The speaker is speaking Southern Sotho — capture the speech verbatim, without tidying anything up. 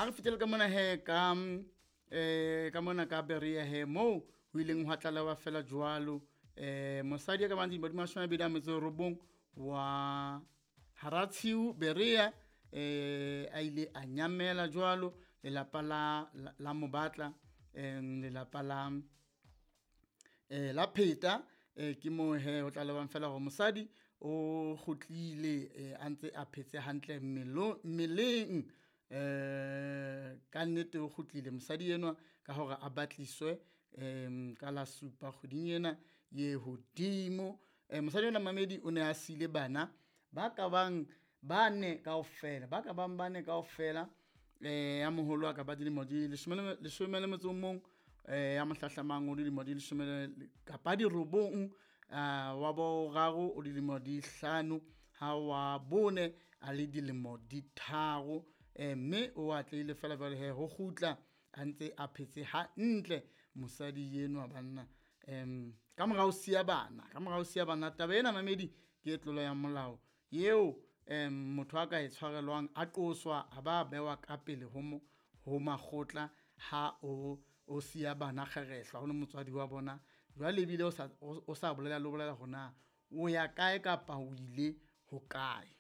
Ha re fitele ka mona he ka eh ka mona ka Berea he moo ho ileng hwa tlalewa fela jwalo eh mosadi ya ka bang dilemo di mashome a mabedi a metso e robong wa Haratshiu Berea eh a ile a nyamela jwalo lelapa la la, la mobatla em lelapa la eh la pheta eh ke mo he ho tlalewang fela hore mosadi o kgutlile eh, a ntse a phetse hantle mmelo mmeleng eh ka nnete o kgutlile mosadi enwa ka hore a batliswe em ka la supa kgweding ena ye hodimo. Eh, mosadi enwa mamedi o ne a sile bana ba ka bang bane kaofela ba ka bang bane kaofela eh ya moholo a ka ba dilemo di leshome le leshome le metso o mong eh ya mohlahlamang o dilemo di leshome le kapa di robong ah, wa boraro o dilemo di hlano ha wa bone a le dilemo di tharo eh mme o atlehile fela jwale he ho kgutla a ntse a phetse hantle mosadi enwa banna em ka mora ho siya bana ka mora ho siya bana taba ena mamedi ke e tlolo ya molao eo em motho a ka e tshwarelwang a qoswa a ba bewa ka pele ho mo ho makgotla ha o o siya bana kgerehlwa o le motswadi wa bona jwale ebile o sa o sa bolela le ho bolela hore na o ya kae kapa o ile hokae.